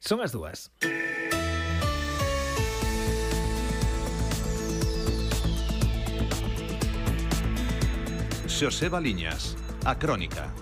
Son as 2. Xoseba Liñas, a Crónica.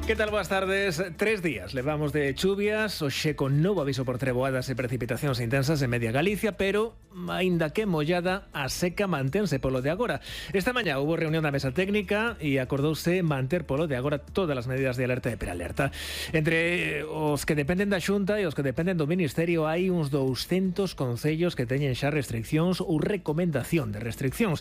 Que tal? Boas tardes. 3 días levamos de chuvias, hoxe con novo aviso por treboadas e precipitacións intensas en media Galicia, pero, aínda que mollada, a seca mantense polo de agora. Esta mañá hubo reunión da mesa técnica e acordouse manter polo de agora todas as medidas de alerta e prealerta. Entre os que dependen da Xunta e os que dependen do Ministerio hai uns 200 concellos que teñen xa restriccións ou recomendación de restriccións.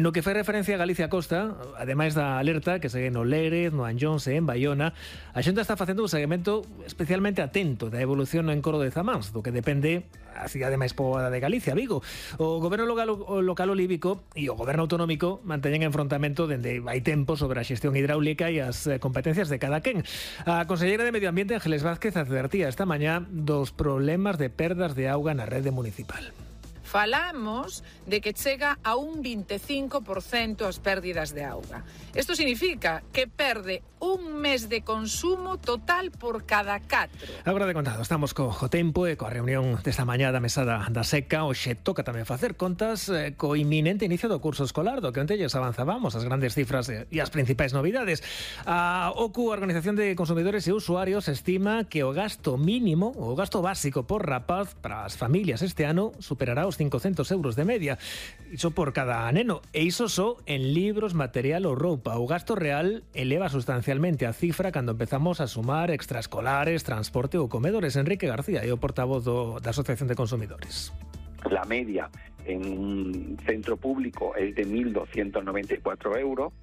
No que fai referencia a Galicia Costa, ademais da alerta que segue no Lérez, no Anllóns e en Baiona, a Xunta está facendo un seguimento especialmente atento da evolución no encoro de Zamáns, do que depende a cidade máis poboada de Galicia, Vigo. O goberno local olívico e o goberno autonómico manteñen enfrontamento dende hai tempo sobre a xestión hidráulica e as competencias de cada quen. A conselleira de Medio Ambiente, Ángeles Vázquez, advertía esta mañá dos problemas de perdas de auga na rede municipal. Falamos de que chega a un 25% as pérdidas de auga. Isto significa que perde un mes de consumo total por cada 4. Agora de contado, estamos co tempo e coa reunión desta mañá da mesada da seca. Hoxe toca tamén facer contas co inminente inicio do curso escolar, do que onte lles avanzábamos as grandes cifras e as principais novidades. A OCU, a Organización de Consumidores e Usuarios, estima que o gasto mínimo, o gasto básico por rapaz para as familias este ano superará os 500 euros de media. Iso por cada neno. E iso só en libros, material ou roupa. O gasto real eleva sustancialmente a cifra cando empezamos a sumar extraescolares, transporte ou comedores. Enrique García é o portavoz da Asociación de Consumidores. La media en un centro público es de 1.294 euros,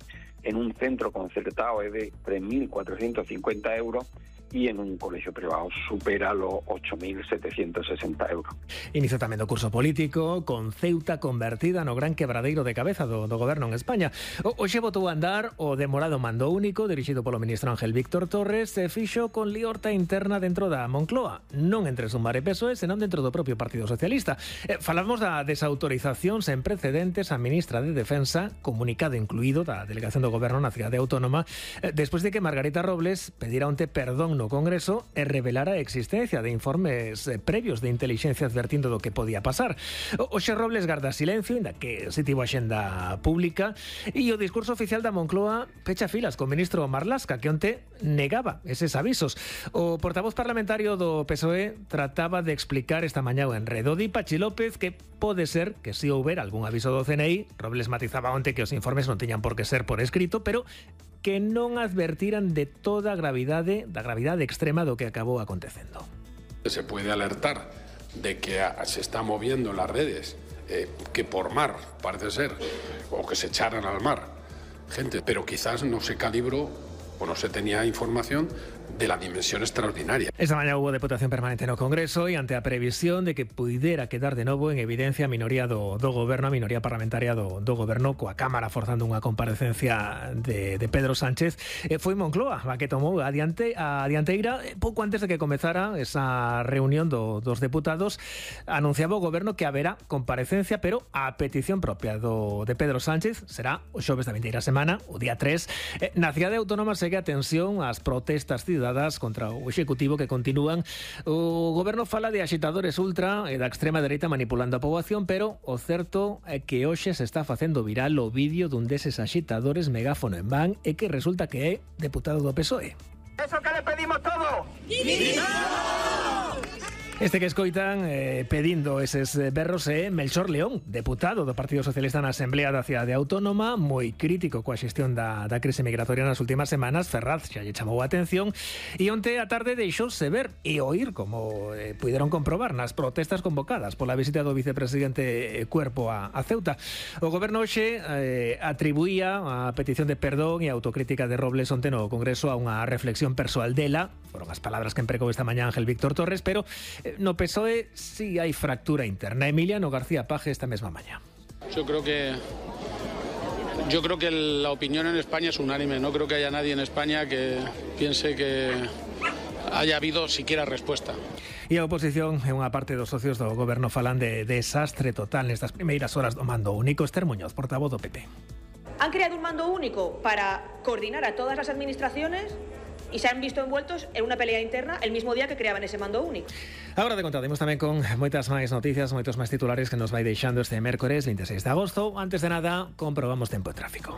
en un centro concertado es de 3.450 euros y en un colegio privado supera los 8.760 euros. Inicio tamén do curso político, con Ceuta convertida no gran quebradeiro de cabeza do goberno en España. Hoxe botou a andar o demorado mando único dirixido polo ministro Ángel Víctor Torres, se fixo con liorta interna dentro da Moncloa, non entre Sumar e PSOE, senón dentro do propio Partido Socialista. Falamos da desautorización sen precedentes a ministra de Defensa, comunicado incluído da delegación do goberno na cidade autónoma, despois de que Margarita Robles pedira onte perdón no Congreso e revelara a existencia de informes previos de inteligencia advertindo do que podía pasar. Hoxe Robles garda silencio, inda que se tivo axenda pública, e o discurso oficial da Moncloa pecha filas co ministro Marlaska, que onte negaba eses avisos. O portavoz parlamentario do PSOE trataba de explicar esta mañá o enredo. Di Pachi López que pode ser que si houbera algún aviso do CNI. Robles matizaba onte que os informes non tiñan por que ser por escrito, pero que non advertiran de toda a gravidade, da gravidade extrema do que acabou acontecendo. Se puede alertar de que se está moviendo en las redes, que por mar, parece ser, o que se echaran al mar gente, pero quizás no se calibró o no se tenía información de la dimensión extraordinaria. Esta mañá hubo deputación permanente no Congreso e ante a previsión de que puidera quedar de novo en evidencia a minoría do goberno, a minoría parlamentaria do goberno, coa Cámara forzando unha comparecencia de Pedro Sánchez, foi Moncloa a que tomou a dianteira pouco antes de que comezara esa reunión dos deputados. Anunciaba o goberno que haberá comparecencia, pero a petición propia de Pedro Sánchez. Será o xoves da vindeira semana, o día 3. Na cidade autónoma segue a tensión ás protestas ciudadanas contra o executivo que continúan. O goberno fala de axitadores ultra e da extrema dereita manipulando a poboación, pero o certo é que hoxe se está facendo viral o vídeo dun deses axitadores megáfono en van e que resulta que é deputado do PSOE. ¿Eso que le pedimos todo? Este que escoitan pedindo eses berros é Melchor León, deputado do Partido Socialista na Asamblea da Cidade Autónoma, moi crítico coa xestión da crise migratoria nas últimas semanas. Ferraz xa lle chamou a atención e onte a tarde deixouse ver e oír, como puideron comprobar nas protestas convocadas pola visita do vicepresidente Cuerpo a Ceuta. O goberno hoxe atribuía a petición de perdón e autocrítica de Robles onte no Congreso a unha reflexión persoal dela. Foron as palabras que empregou esta mañá Ángel Víctor Torres, pero no PSOE sí hai fractura interna. Emiliano García Paje esta mesma mañá. Yo creo que la opinión en España es unánime. No creo que haya nadie en España que piense que haya habido siquiera respuesta. E a oposición e unha parte dos socios do goberno falan de desastre total nestas primeiras horas do mando único. Esther Muñoz, portavoz do PP. Han creado un mando único para coordinar a todas las administraciones y se han visto envueltos en una pelea interna el mismo día que creaban ese mando único. Agora te contademos tamén con moitas máis noticias, moitos máis titulares que nos vai deixando este mércores 26 de agosto. Antes de nada, comprobamos tempo e tráfico.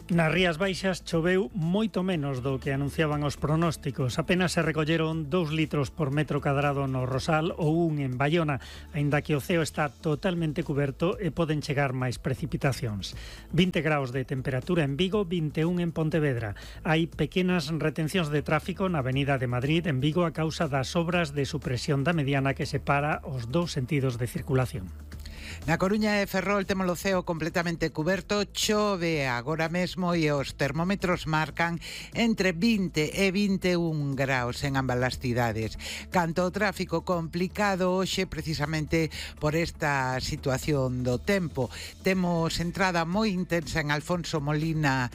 Nas Rías Baixas choveu moito menos do que anunciaban os pronósticos. Apenas se recolleron 2 litros por metro cadrado no Rosal ou 1 en Baiona, aínda que o ceo está totalmente cuberto e poden chegar máis precipitacións. 20 graus de temperatura en Vigo, 21 en Pontevedra. Hai pequenas retencións de tráfico na Avenida de Madrid en Vigo a causa das obras de supresión da mediana que separa os dous sentidos de circulación. Na Coruña e Ferrol temos o ceo completamente cuberto, chove agora mesmo e os termómetros marcan entre 20 e 21 graus en ambas as cidades. Canto o tráfico complicado hoxe precisamente por esta situación do tempo. Temos entrada moi intensa en Alfonso Molina,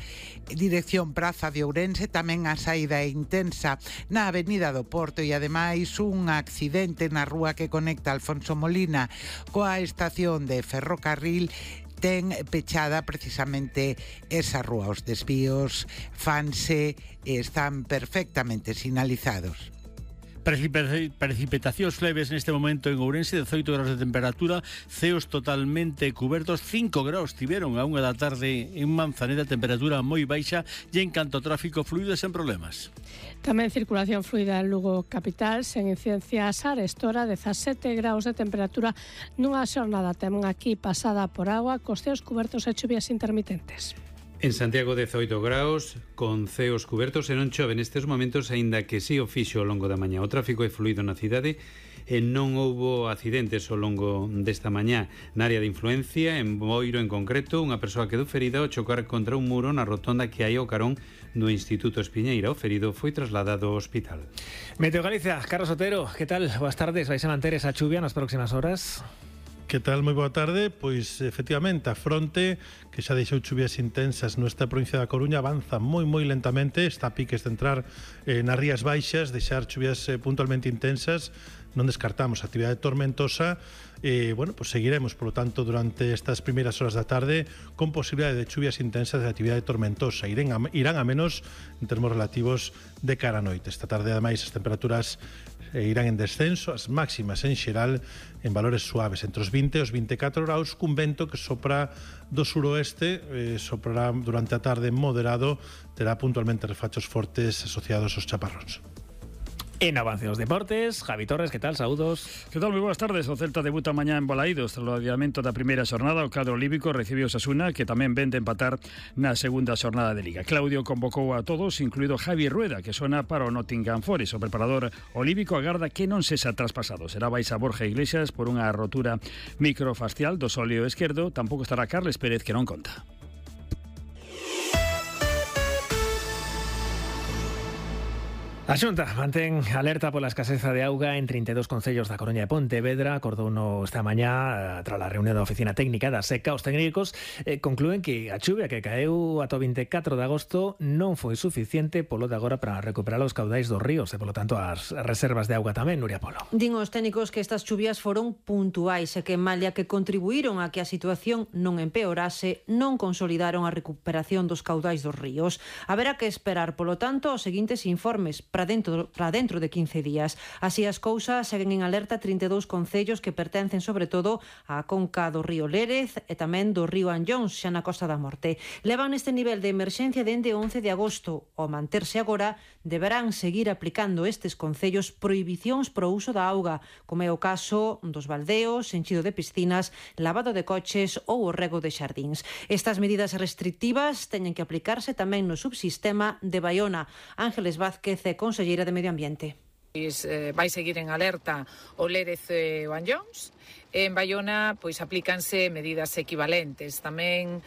dirección Praza de Ourense, tamén a saída intensa na Avenida do Porto e ademais un accidente na rúa que conecta Alfonso Molina coa estación de ferrocarril ten pechada precisamente esa rúa. Os desvíos fanse e están perfectamente sinalizados. Precipitacións leves neste momento en Ourense, 18 graus de temperatura, ceos totalmente cubertos, 5 graus tiveron a 1 da tarde en Manzaneda, temperatura moi baixa e en canto ao tráfico fluido sen problemas. Tamén circulación fluida en Lugo capital, sen incidencias a arestora, 17 graus de temperatura nunha xornada tamén aquí pasada por agua, cos ceos cubertos e chuvias intermitentes. En Santiago 18 graus, con ceos cubertos e non chove nestes momentos, aínda que si o fixo ao longo da mañá. O tráfico é fluido na cidade e non houbo accidentes ao longo desta mañá. Na área de influencia, en Boiro en concreto, unha persoa quedou ferida ao chocar contra un muro na rotonda que hai ao carón do Instituto Espiñeira. O ferido foi trasladado ao hospital. Meteo Galicia, Carlos Otero, que tal? Boas tardes, vais a manter esa chuvia nas próximas horas? Que tal? Moi boa tarde. Pois, efectivamente, a fronte que xa deixou chuvias intensas nuestra provincia da Coruña avanza moi lentamente, está a piques de entrar nas Rías Baixas, deixar chuvias puntualmente intensas. Non descartamos actividade tormentosa e, bueno, pues seguiremos, por lo tanto, durante estas primeiras horas da tarde con posibilidade de chuvias intensas de actividade tormentosa. Irán a menos en termos relativos de cara a noite. Esta tarde, ademais, as temperaturas irán en descenso, as máximas en xeral en valores suaves, entre os 20 e os 24 graus, cun vento que sopra do suroeste, soprará durante a tarde moderado, terá puntualmente refachos fortes asociados aos chaparróns. En avance dos deportes, Javi Torres, que tal? Saúdos. Que tal? Moi boas tardes. O Celta debuta mañá en Balaídos. Tras o adiamento da primeira xornada, o cadro olímpico recibiu Osasuna, que tamén ven de empatar na segunda xornada de Liga. Claudio convocou a todos, incluído Javi Rueda, que sona para o Nottingham Forest. O preparador olímpico agarda que non sexa traspasado. Será baixa Borja Iglesias por unha rotura microfacial do sóleo esquerdo. Tampouco estará Carles Pérez, que non conta. A Xunta mantén alerta pola escaseza de auga en 32 concellos da Coruña e Pontevedra. Acordouno esta mañá tras a reunión da Oficina Técnica da Seca. Os técnicos conclúen que a chuvia que caeu ata o 24 de agosto non foi suficiente polo de agora para recuperar os caudais dos ríos e, polo tanto, as reservas de auga tamén. Nuria Polo. Din os técnicos que estas chuvias foron puntuais e que, malia que contribuíron a que a situación non empeorase, non consolidaron a recuperación dos caudais dos ríos. Haberá que esperar, polo tanto, os seguintes informes para dentro de 15 días. Así as cousas, seguen en alerta 32 concellos que pertencen sobre todo á conca do río Lérez e tamén do río Anllóns, xa na Costa da Morte. Levan neste nivel de emerxencia dende 11 de agosto. Ao manterse agora, deberán seguir aplicando estes concellos prohibicións pro uso da auga, como é o caso dos baldeos, enchido de piscinas, lavado de coches ou o rego de xardíns. Estas medidas restrictivas teñen que aplicarse tamén no subsistema de Baiona. Ángeles Vázquez é conselleira de Medio Ambiente. Vai seguir en alerta o Lérez e o Anllóns. En Baiona pois aplícanse medidas equivalentes. Tamén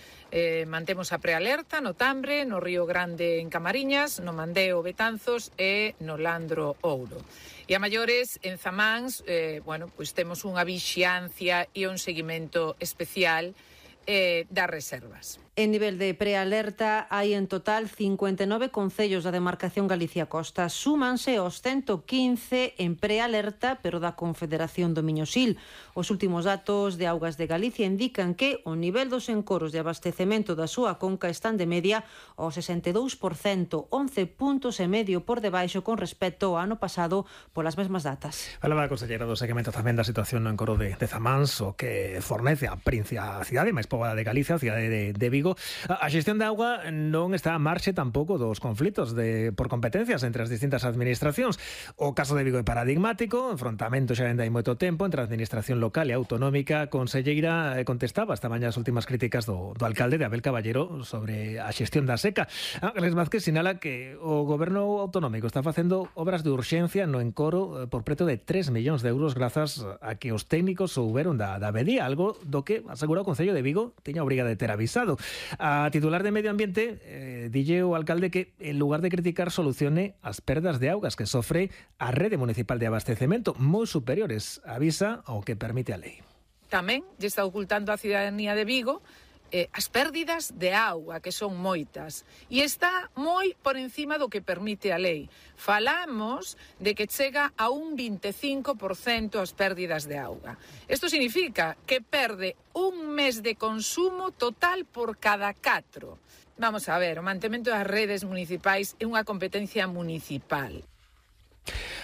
mantemos a prealerta no Tambre, no Río Grande en Camariñas, no Mandeo Betanzos e no Landro Ouro. E a maiores, en Zamáns, pois temos unha vixiancia e un seguimento especial das reservas. En nivel de prealerta hai en total 59 concellos da demarcación Galicia Costa. Súmanse os 115 en prealerta, pero da Confederación do Miño-Sil. Os últimos datos de Augas de Galicia indican que o nivel dos encoros de abastecemento da súa conca están de media ao 62%, 11 puntos e medio por debaixo con respecto ao ano pasado polas mesmas datas. Falaba a conselleira do seguimento tamén da situación no encoro de Zamáns, o que fornece a cidade máis poboada de Galicia, a cidade de Vigo. A xestión de auga non está a marxe tampouco dos conflitos por competencias entre as distintas administracións. O caso de Vigo é paradigmático, enfrontamento xa hai moito tempo entre a administración local e autonómica. A conselleira contestaba esta mañá as últimas críticas do alcalde de Abel Caballero sobre a xestión da seca. Ángeles Vázquez sinala que o goberno autonómico está facendo obras de urxencia no encoro por preto de 3 millóns de euros grazas a que os técnicos souberon da avería, algo do que asegura o Concello de Vigo tiña obriga de ter avisado. A titular de Medio Ambiente dille o alcalde que en lugar de criticar solucione as perdas de augas que sofre a rede municipal de abastecemento moi superiores, avisa ao que permite a lei. Tamén lle está ocultando a cidadanía de Vigo as pérdidas de auga, que son moitas, e está moi por encima do que permite a lei. Falamos de que chega a un 25% as pérdidas de auga. Isto significa que perde un mes de consumo total por cada 4. Vamos a ver, o mantemento das redes municipais é unha competencia municipal.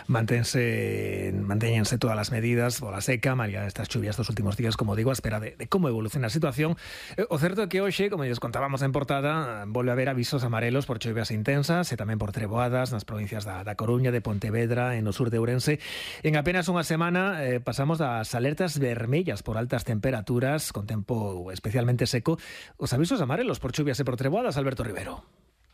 Mantéñense todas as medidas pola seca, malia estas chuvias dos últimos días, como digo, a espera de como evoluciona a situación. O certo é que hoxe, como lles contábamos en portada, volve a haber avisos amarelos por chuvias intensas e tamén por treboadas nas provincias da Coruña, de Pontevedra e no sur de Ourense. En apenas unha semana pasamos das alertas vermellas por altas temperaturas, con tempo especialmente seco, os avisos amarelos por chuvias e por treboadas. Alberto Rivero.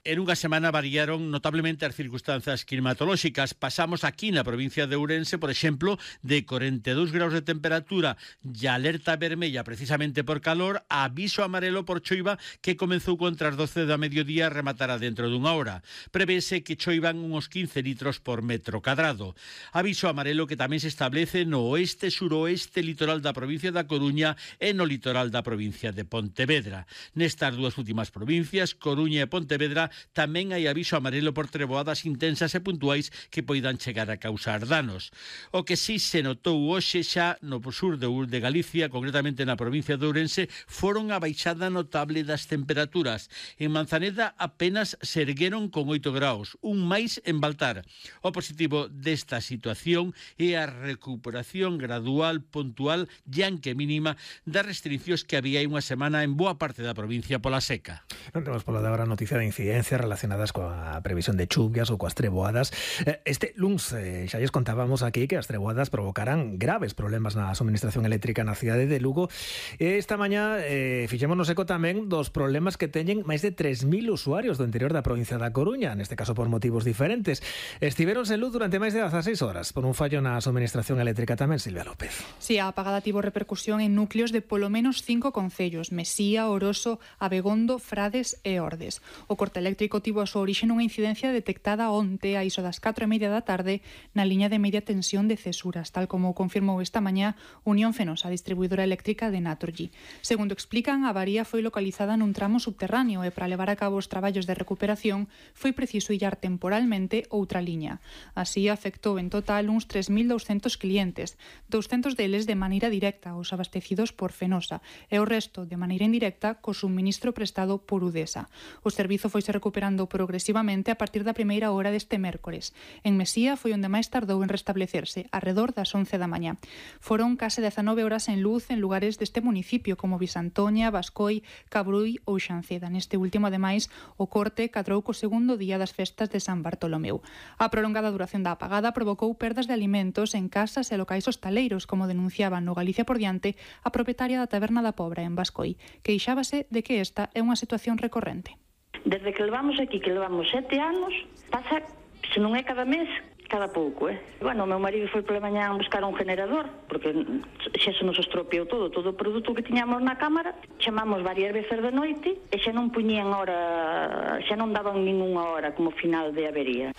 En unha semana variaron notablemente as circunstancias climatolóxicas. Pasamos aquí na provincia de Ourense, por exemplo, de 42 graus de temperatura e alerta vermella precisamente por calor, a aviso amarelo por choiva que comezou contra as 12 da mediodía e rematará dentro dunha hora. Prevese que choivan uns 15 litros por metro cadrado. Aviso amarelo que tamén se establece no oeste-suroeste litoral da provincia da Coruña e no litoral da provincia de Pontevedra. Nestas dúas últimas provincias, Coruña e Pontevedra, tamén hai aviso amarelo por treboadas intensas e puntuais que poidan chegar a causar danos. O que sí se notou hoxe xa no sur de Galicia, concretamente na provincia de Ourense, foron a baixada notable das temperaturas. En Manzaneda apenas se ergueron con 8 graus, un máis en Baltar. O positivo desta situación é a recuperación gradual, puntual e aunque mínima das restriccións que había hai unha semana en boa parte da provincia pola seca. Non temos pola de agora noticia de incidencia relacionadas coa previsión de chuvias ou coas treboadas. Este luns xa lles contábamos aquí que as treboadas provocarán graves problemas na suministración eléctrica na cidade de Lugo. Esta mañá fixémonos eco tamén dos problemas que teñen máis de 3.000 usuarios do interior da provincia da Coruña, neste caso por motivos diferentes. Estiveron sen luz durante máis de 16 horas por un fallo na suministración eléctrica tamén, Silvia López. Si, a apagada tivo repercusión en núcleos de polo menos 5 concellos: Mesía, Oroso, Abegondo, Frades e Ordes. O corte eléctrico tivo a súa orixe nunha incidencia detectada onte a iso das 4:30 da tarde na liña de media tensión de Cesuras, tal como confirmou esta mañá Unión Fenosa, distribuidora eléctrica de Naturgy. Segundo explican, a avaría foi localizada nun tramo subterráneo e para levar a cabo os traballos de recuperación foi preciso illar temporalmente outra liña. Así afectou en total uns 3.200 clientes, 200 deles de maneira directa, os abastecidos por Fenosa, e o resto de maneira indirecta co suministro prestado por Udesa. O servizo foise recuperando progresivamente a partir da primeira hora deste mércores. En Mesía foi onde máis tardou en restablecerse, arredor das 11 da mañá. Foron case 19 horas en luz en lugares deste municipio como Visantoña, Bascoi, Cabruy ou Xanceda. Neste último, ademais, o corte cadrou co segundo día das festas de San Bartolomeu. A prolongada duración da apagada provocou perdas de alimentos en casas e locais hostaleiros, como denunciaban no Galicia por diante a propietaria da Taberna da Pobra en Bascoi, que queixábase de que esta é unha situación recorrente. Desde que levamos aquí, que levamos 7 anos, pasa, se non é cada mes, cada pouco, Bueno, o meu marido foi pola mañá a buscar un generador, porque xa se nos estropeou todo o produto que tiñamos na cámara, chamamos varias veces de noite e xa non puñían hora, xa non daban ninguna hora como final de avería.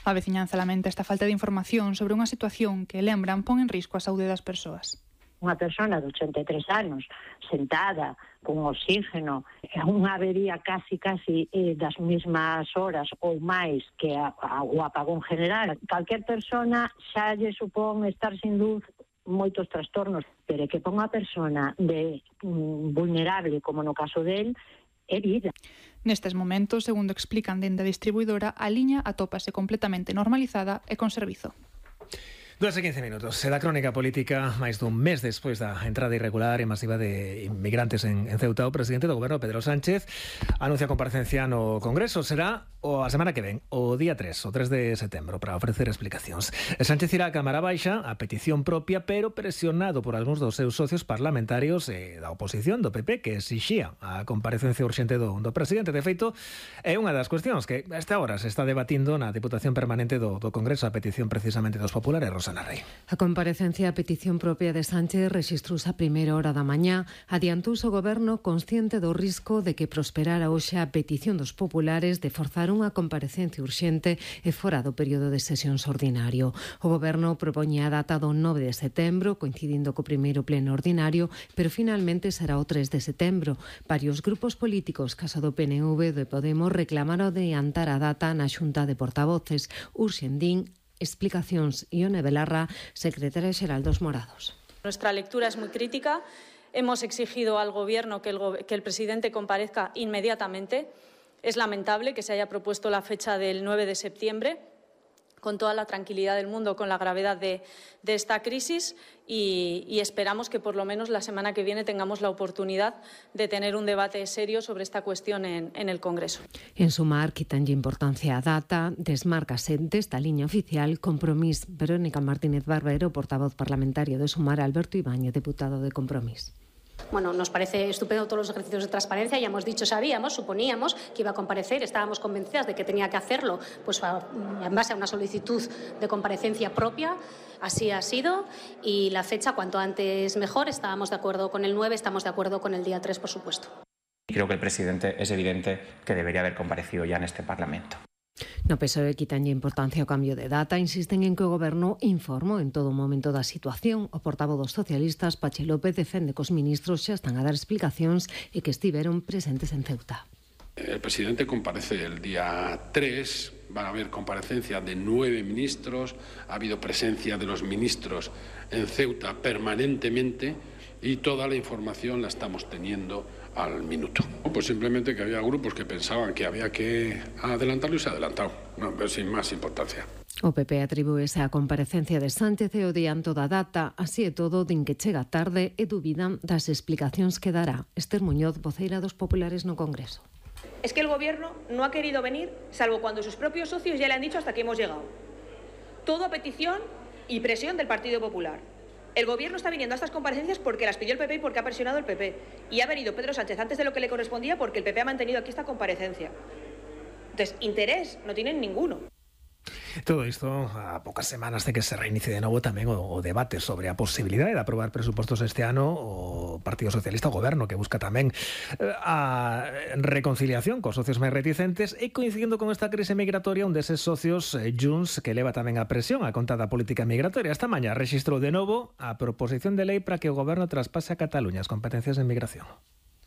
A veciñanza lamenta esta falta de información sobre unha situación que, lembran, pon en risco a saúde das persoas. unha persona de 83 anos sentada con oxígeno, unha avería casi das mesmas horas ou máis que o apagón general, calquer persona xa lle supón estar sin luz moitos trastornos, pero que ponga a persona de vulnerable, como no caso del, é vida. Nestes momentos, segundo explican dende a distribuidora, a liña atópase completamente normalizada e con servizo. 2:15 minutos. Da crónica política, máis dun mes despois da entrada irregular e masiva de inmigrantes en Ceuta, o presidente do goberno, Pedro Sánchez, anuncia comparecencia no Congreso. Será a semana que ven, o día 3 de setembro, para ofrecer explicacións. Sánchez irá á Cámara Baixa a petición propia, pero presionado por algúns dos seus socios parlamentarios da oposición do PP, que exixía a comparecencia urxente do presidente. De feito, é unha das cuestións que a esta hora se está debatindo na Diputación Permanente do Congreso, a petición precisamente dos populares. Rosana Rey. A comparecencia a petición propia de Sánchez rexistrouse a primeira hora da mañá. Adiantouse o goberno consciente do risco de que prosperara hoxe a petición dos populares de forzar unha comparecencia urxente e fora do período de sesións ordinario. O goberno propoñía a data do 9 de setembro, coincidindo co primeiro pleno ordinario, pero finalmente será o 3 de setembro. Varios grupos políticos, caso do PNV e de Podemos, reclamaron adiantar a data na Xunta de Portavoces. Urxendín explicacións. Ione Belarra, secretaria xeral dos Morados. Nuestra lectura es muy crítica. Hemos exigido al Gobierno que el presidente comparezca inmediatamente. Es lamentable que se haya propuesto la fecha del 9 de septiembre, con toda la tranquilidad del mundo, con la gravedad de esta crisis y esperamos que por lo menos la semana que viene tengamos la oportunidad de tener un debate serio sobre esta cuestión en el Congreso. En Sumar, quitanlle importancia a data, desmárcase desta liña oficial. Compromís. Verónica Martínez Barbero, portavoz parlamentario de Sumar. Alberto Ibáñez, diputado de Compromís. Bueno, nos parece estupendo todos los ejercicios de transparencia. Ya hemos dicho, sabíamos, suponíamos que iba a comparecer, estábamos convencidas de que tenía que hacerlo, pues en base a una solicitud de comparecencia propia. Así ha sido y la fecha cuanto antes mejor. Estábamos de acuerdo con el 9, estamos de acuerdo con el día 3, por supuesto. Creo que el presidente es evidente que debería haber comparecido ya en este Parlamento. No PSOE quitanlle importancia ao cambio de data, insisten en que o goberno informou en todo momento da situación. O portavoz dos socialistas, Pachi López, defende que os ministros xa están a dar explicacións e que estiveron presentes en Ceuta. El presidente comparece el día 3, van a haber comparecencia de 9 ministros, ha habido presencia de los ministros en Ceuta permanentemente y toda la información la estamos teniendo al minuto. Pues simplemente que había grupos que pensaban que había que adelantarlo y se ha adelantado, no, pero sin más importancia. O PP atribúese a comparecencia de Sánchez e o dianto da data. Así e todo, din que chega tarde e dubidan das explicacións que dará. Esther Muñoz, voceira dos populares no Congreso. Es que el Gobierno no ha querido venir, salvo cuando sus propios socios ya le han dicho hasta que hemos llegado. Todo a petición y presión del Partido Popular. El Gobierno está viniendo a estas comparecencias porque las pidió el PP y porque ha presionado el PP. Y ha venido Pedro Sánchez antes de lo que le correspondía porque el PP ha mantenido aquí esta comparecencia. Entonces, interés no tienen ninguno. Todo isto a pocas semanas de que se reinicie de novo tamén o debate sobre a posibilidade de aprobar presupostos este ano. O Partido Socialista, o Goberno, que busca tamén a reconciliación cos socios máis reticentes, e coincidindo con esta crise migratoria, un deses socios, Junts, que leva tamén a presión a conta da política migratoria. Esta mañá rexistrou de novo a proposición de lei para que o Goberno traspase a Cataluña as competencias en migración.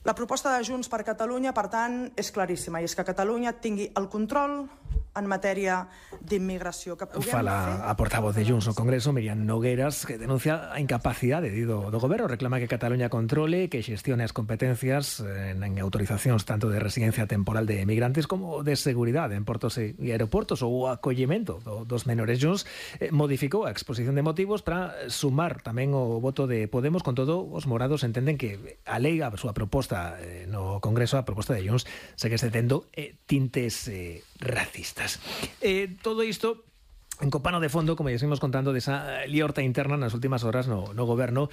La proposta de Junts per Catalunya, per tant, és claríssima, i és que Catalunya tingui el control en matèria d'immigració. Fala a portavoz de Junts no Congreso, Miriam Nogueras, que denuncia a incapacidade do goberno, reclama que Cataluña controle, que xestione as competencias en autorizacións tanto de residencia temporal de emigrantes como de seguridade en portos e aeroportos ou o acollemento dos menores. Junts modificou a exposición de motivos para sumar tamén o voto de Podemos. Con todo, os morados entenden que a lei, a súa proposta no Congreso, a proposta de Junts, segue tendo tintes racistas. Todo isto en copano de fondo, como ya seguimos contando, desa liorta interna nas últimas horas no goberno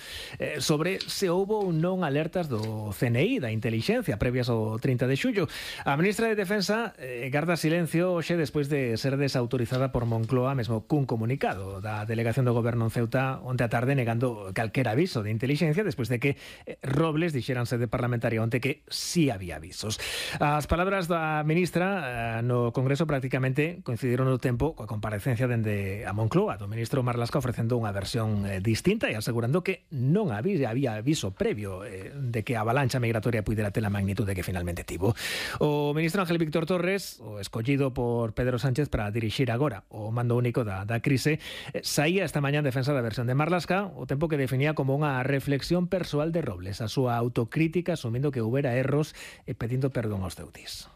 sobre se houbo ou non alertas do CNI, da Intelixencia, previas ao 30 de xullo. A ministra de Defensa garda silencio hoxe despois de ser desautorizada por Moncloa, mesmo cun comunicado da delegación do goberno en Ceuta onte a tarde, negando calquer aviso de Intelixencia despois de que Robles dixera en sede parlamentaria onte que sí había avisos. As palabras da ministra no Congreso prácticamente coincidiron no tempo coa comparecencia dende a Moncloa do ministro Marlaska ofrecendo unha versión distinta e asegurando que non había aviso previo de que a avalancha migratoria puidera ter a magnitude que finalmente tivo. O ministro Ángel Víctor Torres, o escollido por Pedro Sánchez para dirixir agora o mando único da crise, saía esta mañá en defensa da versión de Marlaska, o tempo que definía como unha reflexión persoal de Robles, a súa autocrítica asumindo que houbera erros e pedindo perdón aos ceutis.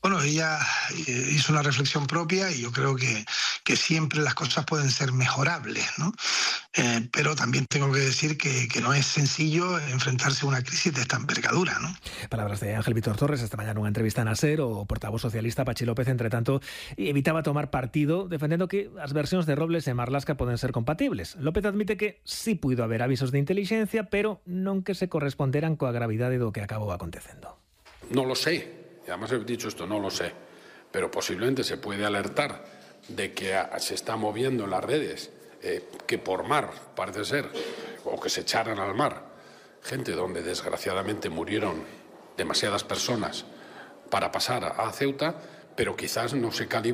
Bueno, ella hizo una reflexión propia y yo creo que siempre las cosas pueden ser mejorables, ¿no? Pero también tengo que decir que no es sencillo enfrentarse a una crisis de esta envergadura, ¿no? Palabras de Ángel Víctor Torres esta mañana nunha entrevista na SER. O portavoz socialista Pachi López, entre tanto, evitaba tomar partido defendendo que as versións de Robles e Marlaska poden ser compatibles. López admite que sí puido haber avisos de inteligencia, pero non que se corresponderan coa gravidade do que acabou acontecendo. No lo sé. Y además he dicho esto, no lo sé, pero posiblemente se puede alertar de que se está moviendo en las redes, que por mar, parece ser, o que se echaran al mar, gente donde desgraciadamente murieron demasiadas personas para pasar a Ceuta, pero quizás no se calibró